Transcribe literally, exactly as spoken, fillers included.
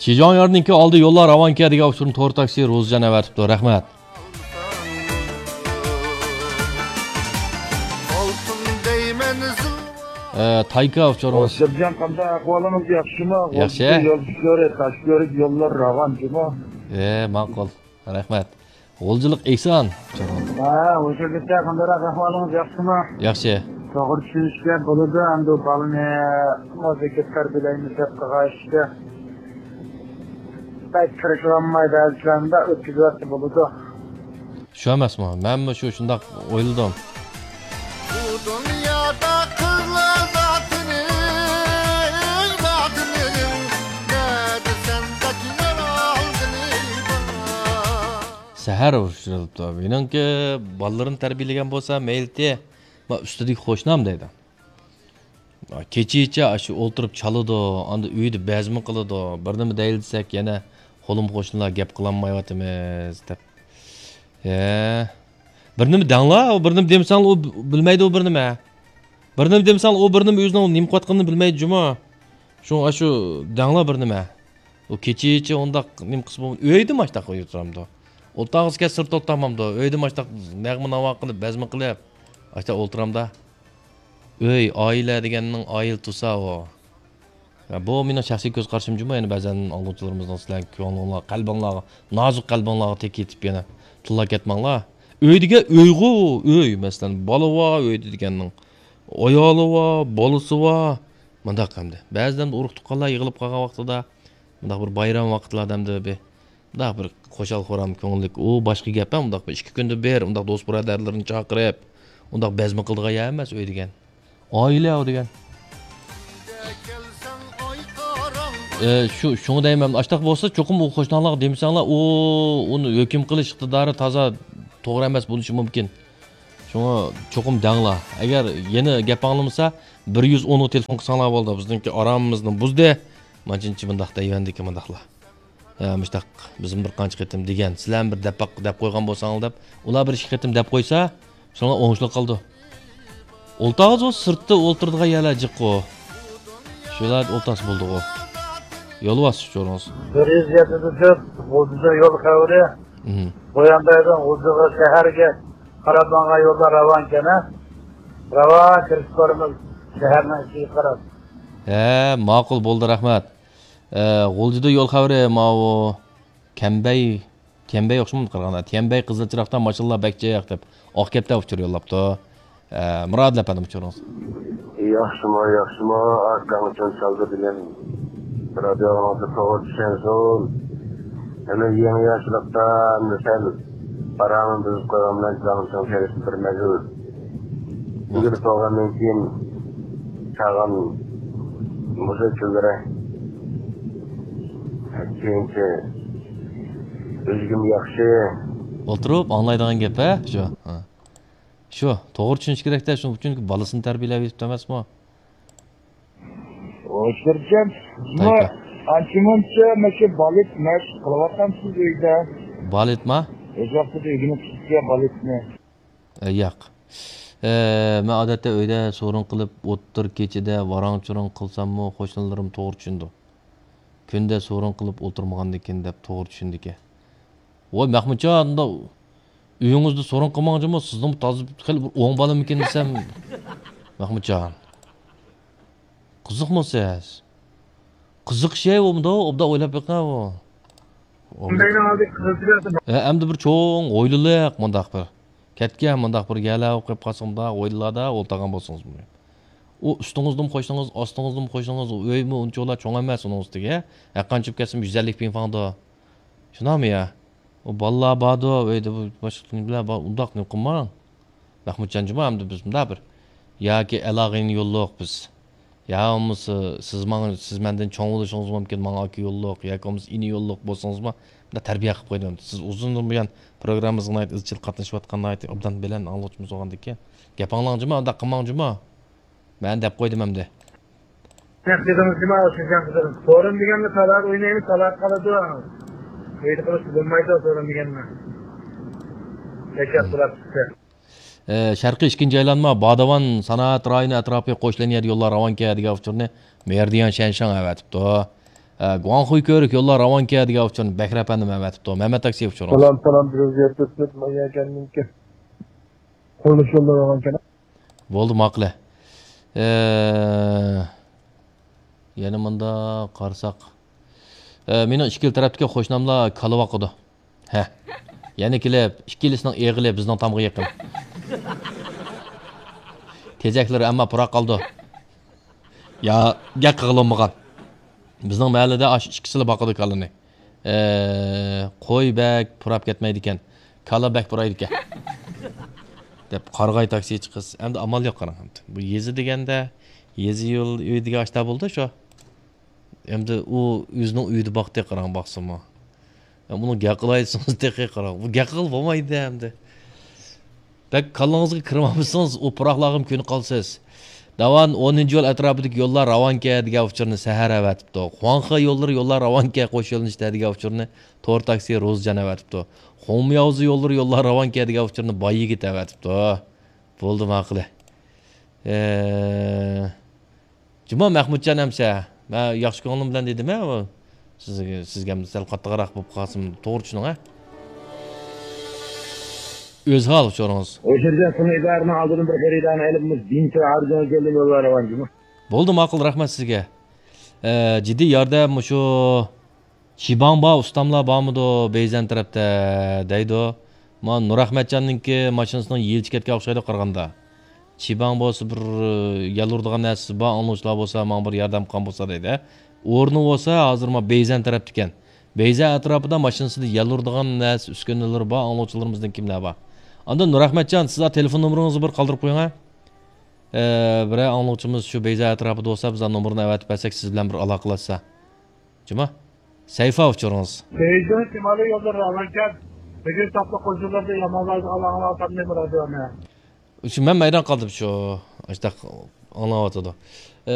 شىجاڭيارنىڭكى ئالدى يوللار راۋانكە دېگەن ئۇچۇرنى تور تاكسى روزىجان ئەۋەتىپتۇ. رەھمەت. ئە، تايكا ئۇچۇرىمىز. ھوسەپجان، قانداق ئەھۋالىڭىز، ياخشىمۇ؟ ياخشى. يول كۆرۈپ، تاش كۆرۈپ، يوللار راۋان جۇمۇ؟ ئە، ماقۇل. رەھمەت. غۇلجىلىق ئېھسان. ھە، ھوشۇرلۇقتا، قانداقراق ئەھۋالىڭىز، ياخشىمۇ؟ ياخشى. توغرا چۈشىنىشكە بولىدۇ، ئەمدى بالىنى مۇزىكا تەربىيەلەيمىز دەپ قىلغان ئىشتا بەك تىرىشىۋالماي، بەزىلەردە ئۆتكۈزۈۋەتسە بولىدۇ. شۇ ئەمەسمۇ؟ مەنمۇ شۇ شۇنداق ئويلىدىم. بۇ دۇنيادا قىزلار ناتىنىڭ، ناتىنىڭ، نەدە سەندەك يارالغىنى بار؟ سەھەر ئۇچرىلىپتۇ. مېنىڭكى بالىلىرىنى تەربىيەلىگەن بولسا مەيلىتى، ما ئۈستىدىكى قوشنام دەيدۇ. كېچىچە ئاشۇ ئولتۇرۇپ چالىدۇ، ئاندا ئۆيدە بەزمە قىلىدۇ، بىر نېمە دەيلى دېسەك، يەنە قولۇم قوشنىلار گەپ قىلالمايۋاتىمىز دەپ. ھە. بىر نېمە دەڭلا، ئۇ بىر نېمە دېمىسەڭلا ئۇ بىلمەيدۇ ئۇ بىر نېمە. بىر نېمە دېمىسەڭلا ئۇ بىر نېمە ئۆزىنىڭ نېمە قىلىۋاتقىنىنى بىلمەيدۇ جۇمۇ. شۇڭا ئاشۇ دەڭلا بىر نېمە. ئۇ كېچىچە ئۇنداق نېمە قىلسا بولمايدۇ. ئۆيدىمۇ ئاشتاق ئولتۇرامدۇ. ئولتۇرغۇسى كەلسە سىرتتا ئولتۇرمامدۇ. ئۆيدىمۇ ئاشتاق نەغمە ناۋا قىلىپ، بەزمە قىلىپ، ئاشتاق ئولتۇرامدا. ئۆي، ئائىلە دېگەننىڭ ئائىلە تۇرسا ئۇ. يا، بۇ مېنىڭ شەخسىي كۆز قارىشىم جۇمۇ، يەنە بەزەن ئاڭلىغۇچىلىرىمىزنىڭ سىلەرنىڭ كۆڭلۈڭلار، قەلبىڭلارغا، نازۇك قەلبىڭلارغا تېگىپ كېتىپ يەنە تىللاپ كەتمەڭلار. ئۆي دېگەن ئۆيغۇ، ئۆي، مەسىلەن، بالا بار ئۆيدە دېگەننىڭ. ئايالى بار، بالىسى بار. مۇنداق ئەمدى. بەزىدە ئۇرۇق-تۇغقانلار يىغىلىپ قالغان ۋاقتىدا، مۇنداق بىر بايرام ۋاقىتلاردا ئەمدى بىر مۇنداق بىر خۇشال-خۇرام، كۆڭۈللۈك، ئۇ باشقا گەپ، ھە، مۇنداق بىر ئىككى كۈندە بىر، مۇنداق دوست-بۇرادەرلىرىنى چاقىرىپ، مۇنداق بەزمە قىلىدىغان يەر ئەمەس ئۆي دېگەن. ئائىلە ئۇ دېگەن. ئە، شۇ، شۇڭا دەيمەن، ئاشتاق بولسا، چوقۇم ئۇ قوشناڭلارغا دېمىسەڭلار، ئۇ، ئۇنى ھۆكۈم قىلىش ئىقتىدارى تازا توغرا ئەمەس بولۇشى مۇمكىن. شۇڭا چوقۇم دەڭلار. ئەگەر يەنە گەپ ئاڭلىمىسا، بىر يۈز ئونغا تېلېفون قىلساڭلار بولدى. بىزنىڭكى ئارامىمىزنى بۇزدى. مانچىنچە مۇنداق دەيۋەندىكى مۇنداقلار. ھە، مۇشتاق، بىزمۇ بىر قانچە قېتىم دېگەن، سىلەرمۇ بىر دەپ باق-، دەپ قويغان بولساڭلار دەپ، ئۇلار بىر ئىككى قېتىم دەپ قويسا، شۇڭا ئوڭۇشلۇق قالىدۇ. ئولتۇرغۇزۇ سىرتتا ئولتۇرىدىغان يەرلەر جىققۇ. شۇلار ئولتۇرسا بولدىغۇ. يولۋاس ئۇچۇرىڭىز. بىر يۈز يەتتە تۆت، غۇلجىدا يول خەۋىرى. مم. بۇياندايدىن غۇلجىغا شەھەرگە قاراپ ماڭغان يولدا راۋانكەن، ھە؟ راۋان كىرىپ بارىمىز شەھەرنىڭ ئىچىگە قاراپ. ھە، ماقۇل بولدى، رەھمەت. ئە، غۇلجىدا يول خەۋىرى ماۋۇ كەمبەي، تيەنبەي ئوخشىمامدۇ قارىغاندا؟ تيەنبەي قىزىل چىراغدا ماشىنىلار بەك جىق دەپ، ئاق كەپتەر ئۇچۇر يوللاپتۇ. ئە، مۇرادىل ئەپەندىم ئۇچۇرىڭىز. ياخشىمۇ، ياخشىمۇ، ئاكاڭ ئۈچۈن سالدى دېگەن رادىيوڭىزدا توغرا چۈشەنسۇن. ھەممە يېڭى ياشلىقتا ئەمدى سەل پاراڭنى بۇزۇپ قويغان بىلەن جاڭچىڭ تېرىسى بىر مەزگىل. ئىگىلىك بولغاندىن كېيىن چاغان مۇزىكىلىرى. كېيىنچە ئۆزگىمۇ ياخشى. ئولتۇرۇپ ئاڭلايدىغان گەپ، ھە؟ شۇ. ھە. شۇ، توغرا چۈشىنىش كېرەكتە، شۇ، چۈنكى بالىسىنى تەربىيەلەپ يېتىپتۇ ئەمەسمۇ؟ ھوشۇرجان، سىزمۇ تايكا. ئانچە-مۇنچە مەشۇ بالېت مەشىق قىلىۋاتامسىز ئۆيدە؟ بالېتما؟ ئۆز ۋاقتىدا ئۆگىنىپ چىقىپسىز بالېتنى. ئە، ياق. ئە، مەن ئادەتتە ئۆيدە سورۇن قىلىپ، ئوتتۇرا كېچىدە ۋاراڭ-چۇرۇڭ قىلساممۇ، قوشنىلىرىم توغرا چۈشىنىدۇ. كۈندە سورۇن قىلىپ ئولتۇرمىغاندىكىن دەپ توغرا چۈشىنىدىكەن. ۋاي، مەخمۇتجان، ئۇنداق ئۆيىڭىزدە سورۇن قىلماڭ جۇمۇ، سىزنىڭ تازا خېلى بىر ئوڭ بالىمىكىن دېسەم، مەخمۇتجان. قىزىقمۇ سىز؟ قىزىق شەي ئۇ مۇنداق، ئوبدان ئويلاپ بېقىڭ ئۇ. ئۇنداينىڭ ئالدى قىزىل. ئە، ئەمدى بىر چوڭ ھويلىلىق مۇنداق بىر. كەتكەن مۇنداق بىر يەرلەر قويۇپ قالسا مۇنداق ھويلىلاردا ئولتۇرغان بولسىڭىز. ئۇ ئۈستىڭىزدىمۇ قوشنىڭىز، ئاستىڭىزدىمۇ قوشنىڭىز، ئۇ ئۆيمۇ ئۇنچىۋالا چوڭ ئەمەس ئۇنىڭ ئۈستىگە. ھەرقانچە كەتسىمۇ يۈز ئەللىك پىڭفاڭدۇ. شۇنداقمۇ يا؟ ئۇ بالىلار باردۇ، ئۆيدە بۇ باشقا نېمىلەر بار، ئۇنداق نېمە قىلماڭ. مەخمۇتجان جۇمۇ، ئەمدى بىز مۇنداق بىر ياكى ئالاغىنى يوللۇق بىز. يا بولمىسا سىز ماڭا، سىز مەندىن چوڭ بولۇشىڭىز مۇمكىن، ماڭا ئاكا يوللۇق، ياكى بولمىسا ئىنى يوللۇق بولسىڭىزمۇ، مۇنداق تەربىيە قىلىپ قويدۇم. سىز ئۇزۇندىن بۇيان پروگراممىمىزغا ناھايىتى ئىزچىل قاتنىشىۋاتقان، ناھايىتى ئوبدان بىلەن ئاڭلىغۇچىمىز بولغاندىكىن، گەپ ئاڭلاڭ جۇمۇ، ئۇنداق قىلماڭ جۇمۇ. مەن دەپ قويدۇم ئەمدى. نەق دېدىڭىز جۇمۇ، شىنجاڭ قىزلىرى. سورۇن دېگەننى تالار ئوينايمىز، تالار قالىدۇ. ئۆيدە قىلىشقا بولمايدۇ سورۇن دېگەننى. بەك ياخشى بولۇپ چىقتى. ئە، شەرقىي ئىككىنچى ئايلانما، باداۋان سانائەت رايونى ئەتراپى قوشلىنىيەدە يوللار راۋانكە دېگەن ئۇچۇرنى مېرىدىيان شەنشاڭ ئەۋەتىپتۇ. ھە، گۇاڭخۇي كۆۋرۈك يوللار راۋانكەن دېگەن ئۇچۇرنى بەكرى ئەپەندىم ئەۋەتىپتۇ. مەمەت تاكسى ئۇچۇرىڭىز. سالام، سالام، بىر ئۆزگەرتىپ، مايا ئىكەنمىكىن. قۇرۇلۇش يوللىرى راۋانكەن. بولدى، ماقۇل. ئە، يەنە مۇنداق قارىساق. ئە، مېنىڭ ئىككىلا تەرەپتىكى قوشناملار كالا باقىدۇ. ھە. يەنە كېلىپ، ئىككىلىسىنىڭ ئېغىلى بىزنىڭ تامغا يېقىن. تېزەكلىرى ئەمما پۇراپ قالىدۇ. يا، گەپ قىلغىلى بولمىغان. بىزنىڭ مەھەللىدە ئاشۇ ئىككىسىلا باقىدۇ كالىنى. ئە، قوي بەك پۇراپ كەتمەيدىكەن. كالا بەك پۇرايدىكەن. دەپ قارىغاي تاكسىچى قىز. ئەمدى ئامال يوق قاراڭ. بۇ يېزا دېگەندە، يېزا يول ئۆي دېگەن ئاشتا بولدى شۇ. ئەمدى ئۇ ئۆزىنىڭ ئۆيىدە باقتى، قاراڭ، باقسىمۇ. ئە، بۇنىڭ گەپ قىلايسىڭىز تېخى قاراڭ. بۇ گەپ قىلغىلى بولمايدۇ ئەمدى. بەك كاللىڭىزغا كىرمىمىسىڭىز، ئۇ پۇراقلارغىمۇ كۆنۈپ قالىسىز. داۋان ئونىنچى يول ئەتراپىدىكى يوللار راۋانكەن دېگەن ئۇچۇرنى سەھەر ئەۋەتىپتۇ. خۇاڭخې يوللىرى يوللار راۋانكەن قوش يۆنىلىشتە دېگەن ئۇچۇرنى تور تاكسى روزىجان ئەۋەتىپتۇ. خۇڭمياۋزې يوللىرى يوللار راۋانكەن دېگەن ئۇچۇرنى باي يىگىت ئەۋەتىپتۇ. بولدى، ماقۇل. ئە، جۇما مەخمۇتجان ئەمىسە، مەن ياخشى كۆڭلۈم بىلەن دېدىم-ھە، ئۇ سىزگە، سىزگە سەل قاتتىقراق بولۇپ قالسىمۇ، توغرا چۈشىنىڭ-ھە. ئۆزھال ئۇچۇرىڭىز. ئوشۇرجان سۇنۇ ئىدارىنىڭ ئالدىدىن بىر خېرىدارنى ئېلىپ، مۇشۇ دىنچۇ ھارجىڭغا كەلدىم، يوللار راۋانكەنمۇ؟ بولدى، ماقۇل، رەھمەت سىزگە. ئە، جىددىي ياردەم مۇشۇ چىباڭبا ئۇستاملار بارمىدۇ بەيزەن تەرەپتە دەيدۇ. ما نۇرئەخمەتجاننىڭكى ماشىنىسىنىڭ يېلىچى كەتكەن ئوخشايدۇ قارىغاندا. چىباڭ بولسا بىر يەل ئۇرىدىغان نەرسىسى بار، ئاڭلىغۇچىلار بولسا ماڭا بىر ياردەم قىلغان بولسا دەيدۇ. ئورنى بولسا ھازىر ما بەيزەن تەرەپتىكەن. بەيزەن ئەتراپىدا ماشىنىسىدا يەل ئۇرىدىغان نەرسە ئۈسكۈنىلىرى بار ئاڭلىغۇچىلىرىمىزدىن كىملەر بار. ئاندىن نۇرئەخمەتجان، سىز تېلېفون نومۇرىڭىزنى بىر قالدۇرۇپ قويۇڭ-ھە. ئە، بىرەر ئاڭلىغۇچىمىز شۇ بەيزەن ئەتراپىدا بولسا، بىز نومۇرنى ئەۋەتىپ بەرسەك، سىز بىلەن بىر ئالاقىلەشسە. جۇما. سەيفا ئۇچۇرىڭىز. بېيجىڭ شىمالىي يوللىرى ئاۋاركەن، بۈگۈن ساپلىق قوشۇنلىرىدا يامانلايدىغان ئاڭلاۋاتامدىمۇ رادىيونى؟ شۇ مەن ھەيران قالدىم شۇ. ئاشتاق ئاڭلاۋاتىدۇ. ئە،